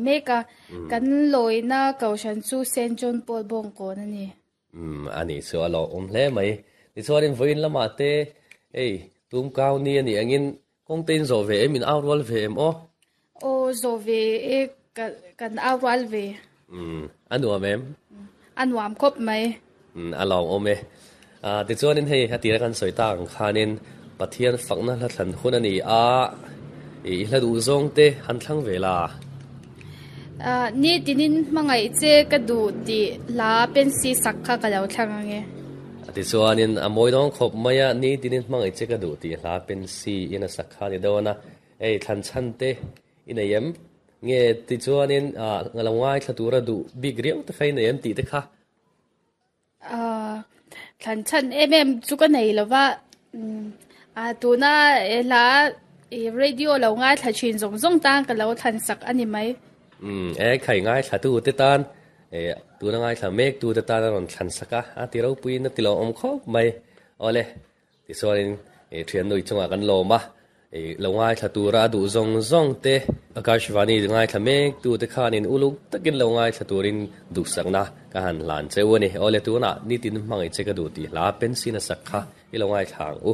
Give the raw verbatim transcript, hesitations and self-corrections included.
mek a, kan lawina kohhran chu Saint John Paul Bawngkawn a ni. Um ani chu a lawmawm hle mai. Tichuanin vawiin lamah te hei tum kau ni a nih angin kawng te in zawh ve em, in au rual ve em aw? Aw zawh ve e, kan au rual ve. Um a nuam em? A nuam khawp mai. Um a lawmawm e. Ah tichuanin hei a tira kan sawi tak ang khanin Pathian fakna hla thlan hun a ni a, i hla duh zawng te han thlang ve la. Ah ni tinin hmangaih che ka duh tih hla pensi sak kha ka lo thlang ang e. Tichuanin a mawi dawng khawp mai a, ni tinin hmangaih che ka duh tih hla pensi in a sak kha a ni dawn a, hei thlan chhan te i nei em? Nge tichuanin ah lo ngaithla tura duh bik riau te kha i nei em tih te kha? Ah thlan chhan em em chu ka nei lo va, ah tuna hla radio lo ngaithla thin zawng zawng tan ka lo thlan sak a ni mai. Um e khai ngaithla tu te tan e tuna ngaithla mek tu te tan a rawn thlan sak a, a ti ropuiin a ti lo awm khawp mai. Awle tichuanin e thian nui chungah kan lawm a, e lo ngaithla tura a duh zawng zawng te Akashvani ngaithla mek tu te khanin uluk takin lo ngaithla turin duhsakna ka han hlan cheu a ni. Awle tunah nitin hmangaih che ka duh tih hla pensin a sak kha i lo ngaithla ang u.